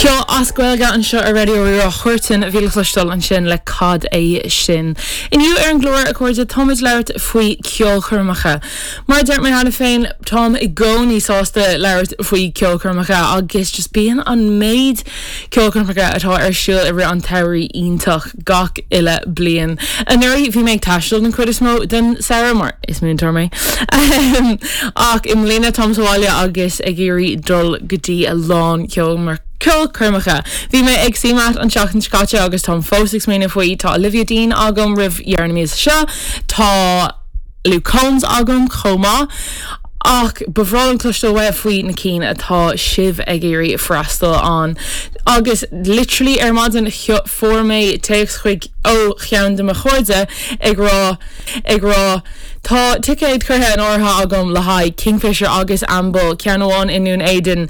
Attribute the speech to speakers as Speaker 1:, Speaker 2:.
Speaker 1: Ceol as Gaeilge anseo ar Raidió Rí-Rá, Huartan a bhí le cloisteáil ansin le Cad é Sin. Inniu ar an gclár, a chairde, táimid ag labhairt faoi ceolchoirmeacha. Mar a dúirt mé cheana féin, táim i gcónaí sásta labhairt faoi ceolchoirmeacha agus just bíonn an méid ceolchoirmeacha atá ar siúl i rith an tsamhraidh iontach gach uile bliain. Anuraidh bhí mé ag taisteal den chuid is mó den samhradh mar is múinteoir mé. Ach i mbliana táim sa bhaile agus ag iarraidh dul go dtí a lán ceolchoirmeacha. Bhí mé ag CMAT an tseachtain seo caite agus táim fós ag smaoineamh faoi. Tá Olivia Dean agam roimh dheireadh na míosa seo. Tá Luke Combs agam chomh maith. Ach ba bhreá liom cloisteáil uaibh faoi na cinn atá sibh ag iarraidh freastal ann. Agus literally ar maidin fuair mé téacs chuig ó cheann de mo chairde ag rá ag rá Tá ticéad curtha in áirithe agam le haghaidh Kingfisher agus Amble, ceann amháin i nDún Éideann.